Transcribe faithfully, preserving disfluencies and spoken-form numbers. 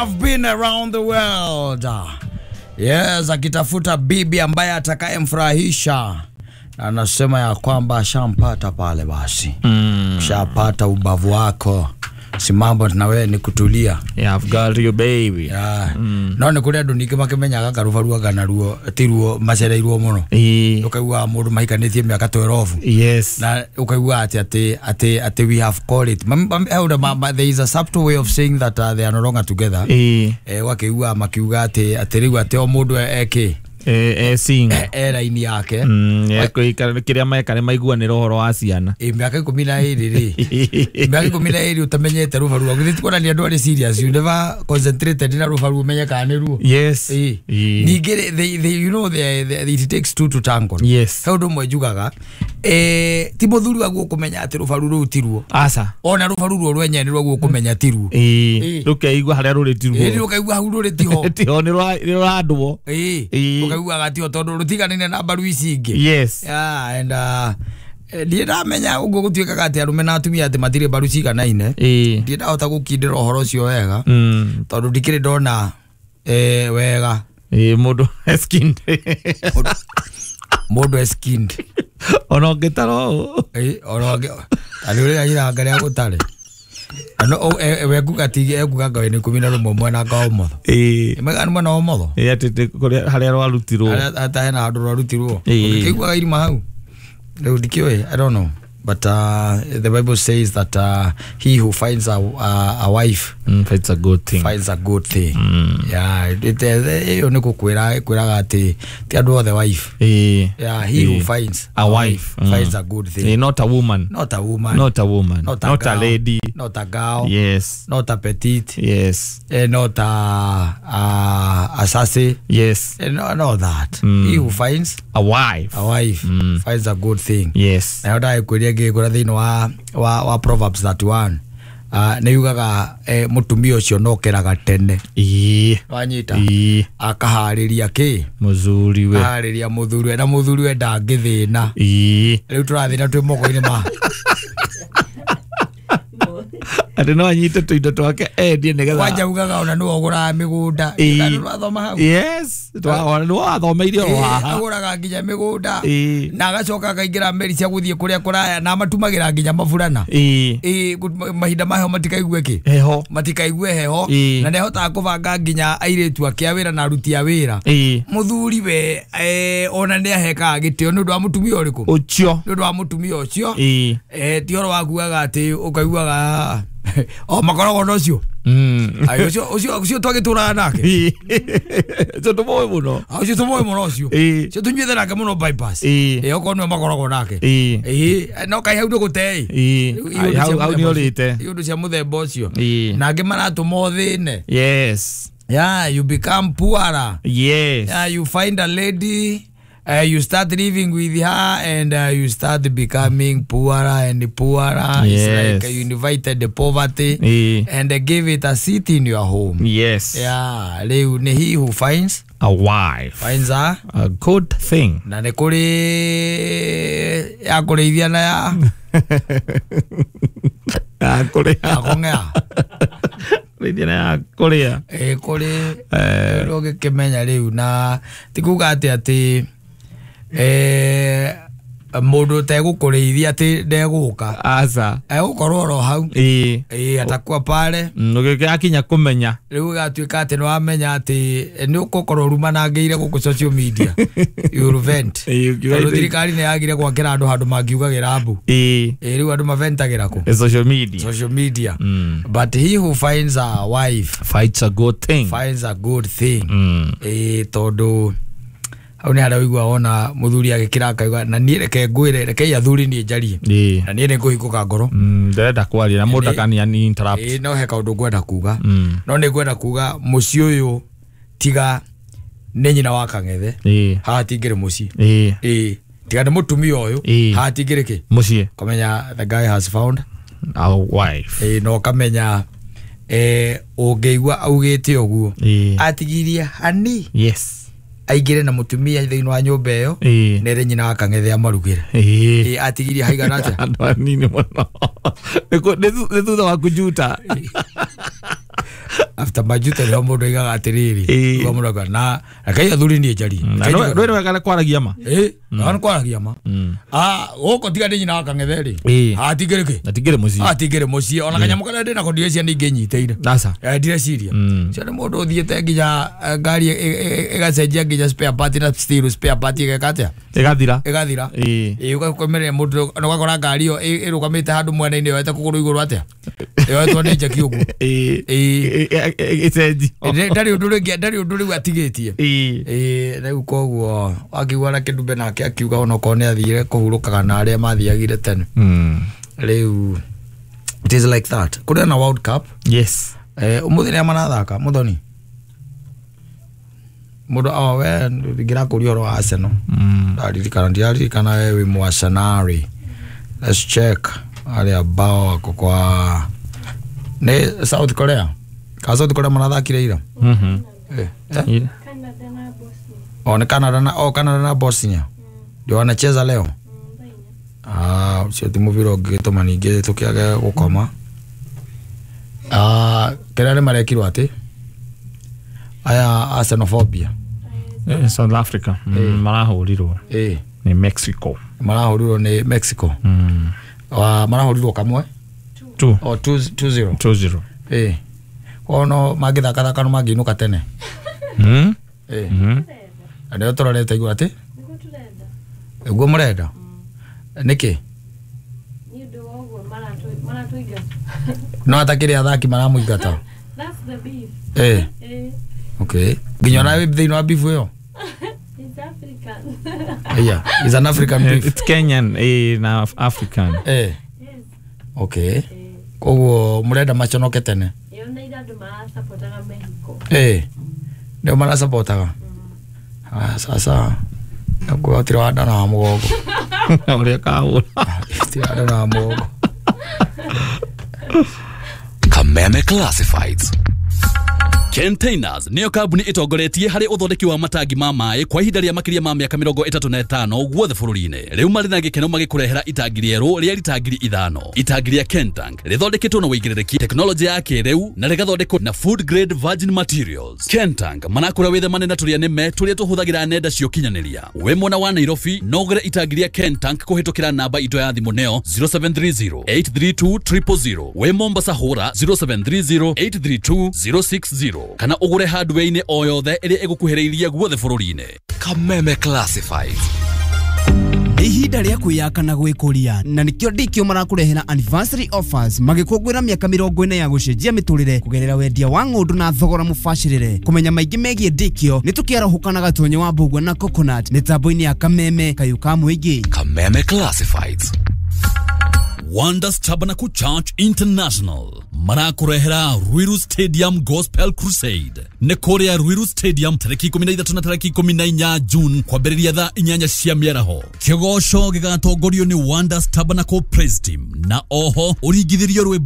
I've been around the world. Yes, akitafuta bibi ambaye atakayemfurahisha. Anasema ya kwamba ashampata pale basi. Mm. Ushapata ubavu wako. Si mambo na wewe ni kutulia. Yeah, I've got you baby. Yeah. Mm. No ni kuria andu ningi makimenyaga karubarua kana ruo ti ruo macereirwo muno. Eh. Ukaigua mundu mahikanĩtie mĩaka twelve. Yes. Na ukaigua ati ati ati ati we have called it. Mam, mam, there is a subtle way of saying that uh, they are no longer together. Eh. Eh, wakiigua makiuga ati ati riu ati o mundu eke eh eh sing eh raini yake. Mm, eh kuikara kiria meka ni maiguanira uhoro wa ciana. Eh miaka ikumi na iri ri. Miaka ikumi na iri utamenyete rubaru. Githĩ ti kuonania andũ arĩ serious, you never concentrated na rubaru umenye kana nĩ ruo. Yes. Eh. Ningĩ they they you know they, they it takes two to tango. Yes. He ũndũ ũmwe njugaga eh ti mũthuri waguo kũmenya atĩ rubaru rũu ti ruo. Aca. Ona rubaru ruo rwenyewe nĩ rwaguo kũmenya ti ruo. Eh. Rũkeigua harĩa rũrĩ ti ruo. Eh rũkaigua hau rũrĩ ti ho. Ti ho nĩ rũrandwo. Eh. Ukaiguaga ti ho tondũ rũtiganĩire na mbaru ici ingĩ. Yes. Yeah, and uh ndiĩ ndamenya ũguo gũtuĩkaga atĩ arũme na atumia atĩ matirĩ mbaru ciganaine. Eh. Ndiĩ ndahota gũkindĩra ũhoro ũcio wega. Mm. Tondũ ndikĩrĩ ndona eh wega. Eh mũndũ eskinned. Mũndũ eskinned. Ona ũngĩtara ũũ. Eh ona ũngĩ arĩ ũrĩa iranga rĩa gũtarĩ. Ano we kuga ti ekuga ngawe ni ikumi na rũmwe mwena ka ũmotho. Eh. Mega nĩ mwena wa ũmotho. Eh atĩ kũrĩa harĩa rwarutirwo. Harĩa ata hena handũ rwarutirwo. Ũkĩiguaga irima hau. Rĩu ndikĩũĩ, I don't know. But uh, the Bible says that uh, he who finds a, a, a wife mm, finds a good thing. Finds a good thing. Mm. Yeah, it ĩyo nĩ gũkwĩra ĩkwĩraga atĩ ti andũ othe wife. Eh. Yeah, he eh. who finds a wife mm. finds a good thing. Eh, not a woman. Not a woman. Not a woman. Not a, not girl, a lady. Not a girl. Yes. Not a petite. Yes. Eh, not a a, a sassy. Yes. Eh, no, not that. Mm. He who finds a wife. A wife mm. finds a good thing. Yes. Na yoda ngĩkũra thĩinĩ wa wa wa Proverbs thirty-one uh, nĩ yugaga eh, mũtumia ũcio nokeraga tene. Ĩĩ. Wanyita. Ĩĩ. Akaharĩria kĩ? Mũthuriwe. Akaharĩria mũthuriwe na mũthuriwe ndangĩthĩna. Ĩĩ. Rĩu tũrathĩna twĩ moko-inĩ ma atĩ no anyite tũindo twake endie nĩgetha kwanja ugaga ona nĩwe ũgũraga mĩgũnda. Ĩĩ. Twathoma hau. Yes. Nĩwe wathomeire o haha. Agũraga nginya mĩgũnda Ĩĩ. na agacoka akaingĩra meri cia gũthiĩ kũrĩa kũraya na amatumagĩra nginya maburana. Ĩĩ. Ĩĩ, mahinda ma heho matikaigue kĩ? Heho. Matikaigue heho. Ĩĩ. Na nĩahotaga kũbanga nginya airĩtu ake a wĩra na aruti a wĩra. Ĩĩ. Mũthuri we eh, ona nĩahekaga gĩtĩo nĩ ũndũ wa mũtumia ũrĩkũ? Ũcio. Nĩ ũndũ wa mũtumia ũcio. Ĩĩ. Eh, ti ũhoro wa kugaga atĩ ũkaiguaga o makoragwo na ũcio. Mm. Ai ũcio ũcio ũcio twagĩtũraga nake. Ũcio tũmũĩ mũno. Ũcio tũmũĩ mũno ũcio. Ĩĩ. Ũcio tũnyuĩte nake mũno bypass. Ĩĩ. Ĩĩ okorwo nĩwe makoragwo nake. Ĩĩ. Ĩĩ no kaĩ hau ndũgũte ĩ. Ĩĩ. Hau hau nĩ ũrĩte. Iũndũ cia mũthemba ũcio. Ĩĩ. Na angĩ maratũma ũthĩne. Yes. Yeah, you become poorer. Yes. Yeah, you find a lady, uh, you start living with her and uh, you start becoming poorer and poorer. Yes. It's like you invited the poverty e. and uh, give it a seat in your home. Yes. Yeah, rĩu nĩ he who finds a wife finds a, a good thing. Na nĩ kũrĩ ya kũrĩithia na ya ya kũrĩa ya kũng'ea. Rĩithia na ya kũrĩa. Ĩ kũrĩ ũgĩkĩmenya rĩu na ti kuga atĩ atĩ eh mũndũ ũtegũkũrĩithia atĩ ndegũka. Aca. Egũkorwo oro hau. Ĩĩ. Ĩĩ atakuwa pale. Ũgĩkinya kũmenya. Rĩu gatuĩka atĩ nĩwamenya atĩ nĩ ũgũkorwo ũrumanangĩire gũkũ social media. You vent. Tondũ thirikari nĩ yagire gwakĩra andũ handũ mangiugagĩra mbu. Ĩĩ. Ĩĩ rĩu andũ maventagĩra kũ? Social media. Social media. Mm. But he who finds a wife finds a good thing. Finds a good thing. Mm. Ĩĩ tondũ hau nĩ harĩa ũigua wona mũthuri agĩkĩra akauga na niĩ reke ngwĩre rekei athuri niĩ njarie na niĩ nĩ ngũhingũka ngoro. Ndĩrenda kwaria na mũndũ akani interrupt. Ĩĩ no he kaũndũ ngwenda kuga. No nĩ ngwenda kuga mũciĩ ũyũ tiga nĩ nyina wa kang'ethe haha tingĩrĩ mũciĩ. Ĩĩ tiga nĩ mũtumia ũyũ haha tingĩrĩ kĩ? Mũciĩ. Kũmenya the guy has found a wife. Ĩĩ no kamenya eh ũngĩigua augĩte ũguo atigirie hani. Yes. Aingĩre na mũtumia thĩinĩ wa nyũmba ĩyo nere nyina wa kang'ethe amarugĩre. Ĩĩ atigirie haigana atĩa? Andũ anini mũno. Nĩ thutha wa kũnjuta. After majuto nĩho mũndũ aigaga atĩrĩrĩ. Ĩĩ. Uga mũndũ akauga, na rekei athuri niĩ njarie. Na Rekei no njuge- no wega kwaragia ma. Ĩ, na nĩ kwaragia ma. Ah, gũkũ tiga ndĩ nyina wa kang'ethe rĩ. Ĩĩ. Hatingĩrĩ kĩ? Na tingire muciĩ. Hatingĩrĩ mũciĩ ona kanyamũ karĩa ndĩ nako ndireciria nĩ ingĩnyitĩire. Aca. Eh, ndireciria. Cio nĩ mũndũ ũthiĩte nginya eh, ngari ĩ- ĩ- ĩ- ĩgacenjia nginya spare part na still spare part ĩgeka atĩa? Ĩgathira. Ĩgathira. Ĩĩ. Ĩ, ũgakomerera mũndũ na ũgakora ngari ĩyo ĩ- ĩrũgamĩte handũ mwena-inĩ yoete kũgũrũ igũrũ atĩa? Yoetwo nĩ njeki ũguo. Ĩĩ. Ĩĩ. Ĩcenji. Ndarĩ ũndũ rĩngĩ ndarĩ ũndũ rĩu atigĩtie. Ĩĩ. Ĩĩ, rĩu koguo akiuga na kĩndumbe nake akiuga onokorwo nĩ athire kũhurũkaga na arĩa mathiagire tene. Mm. Rĩu it is like that. Kũrĩ na World Cup. Yes. Eh, ũmũthĩ nĩa marathaka mũthoni. Mũndũ oh, we ngĩrakũria ũhoro wa Arsenal. Mm. Ndaririkana ndiraririkana we wĩ mwacenari. Let's check arĩa ambao wako kwa nĩ South Korea. Ka South Korea marathakire ira. Mhm. Eh, eh? Yeah. Canada na Bosnia. Oh, ni Canada na oh, Canada na Bosnia. Ndio wanacheza leo. Ah, ũcio ti mũbira ũngĩgĩtũma ningĩ tũkĩage gũkoma. Ah, kĩrĩa nĩ marekirwo atĩ aya Arsenalphobia. Eh, South Africa. Mm, marahũrirwo Eh, nĩ Mexico. marahũrirwo nĩ Mexico. Mm. Wa marahũrirwo kamwe Two. o two zero. Two zero. Eh. Ono mangĩthakathaka no mangĩinũka tene. Mm. Eh. Mm. Na nĩo tũrorete igũrũ atĩ Nĩguo tũrenda. nĩguo mũrenda. Nĩkĩ? Nĩ ũndũ wa ũguo maratũ- maratũingata. No atakĩrĩ athaki maramũingata. That's the beef. Eh. Eh, Okay. Nginya ona wĩ thĩinĩ wa beef ĩyo. it's African. Yeah, it's an African beef. It's Kenyan eh, na African. Eh. Yes. Okay. Eh, Koguo mũrenda maconoke tene. yoneire andũ marasapotaga Mexico. Eh. Ndio marasapotaga. Ah, sasa nakuwa tira wa ndana wa mũgongo. Ũrĩa kahũra. Tira wa ndana wa mũgongo. Kameme Classifieds. Containers niyo kambuni itongoretie harĩ ũthondeki wa matangi ma maĩ kwa ihinda rĩa makĩria ma mĩaka mĩrongo ĩtatũ na ĩtano guothe bũrũri-inĩ. Rĩu marĩ na gĩkeno magĩkũrehera itangi rĩerũ rĩa rita ngiri ithano. Itangi rĩa Kentank rĩthondeketwo na ũigĩrĩrĩki tekinoronjĩ ya kĩrĩu na rĩgathondekwo na food grade virgin materials. Kentank manakũra wĩthemane na tũrĩa nĩme tũrĩa tũhũthagĩra nenda cia ũkinyanĩria. Wĩ mwena wa Nairobi no ũgũre itangi rĩa Kentank kũhĩtũkĩra namba itũ ya thimũ nĩyo zero seven three zero eight three two triple zero. Wĩ Mombasa hũra zero seven three zero eight three two zero six zero kana ũgũre hardware-inĩ o yothe ĩrĩa ĩgũkuhĩrĩirie guothe bũrũri-inĩ. Kameme Classifieds. Nĩ ihinda rĩa kwĩyaka na gwĩkũria na nĩkĩo ndikio marakũrehera anniversary offers magĩkũngũĩra mĩaka mĩrongo ĩna ya gũcenjia mĩtũrĩre kũgerera wendia wa ng'ũndũ na thogora mũbacĩrĩre. Kũmenya maingĩ megiĩ ndikio nĩ tũkĩarahũka na Gatonye wa Mbũgua na Coconut mĩtambo-inĩ ya Kameme kayũ ka mũingĩ. Kameme Classifieds. Wonders Tabernacle Church International marakũrehera Ruiru Stadium Gospel Crusade nĩ kũrĩa Ruiru Stadium tarĩki ikũmi na ithatũ na tarĩki ikũmi na inya June kwambĩrĩria thaa inyanya cia mĩaraho. Kĩgoco gĩgatongorio nĩ Wonders Tabernacle Praise Team na oho ũringithĩrio rwĩmbo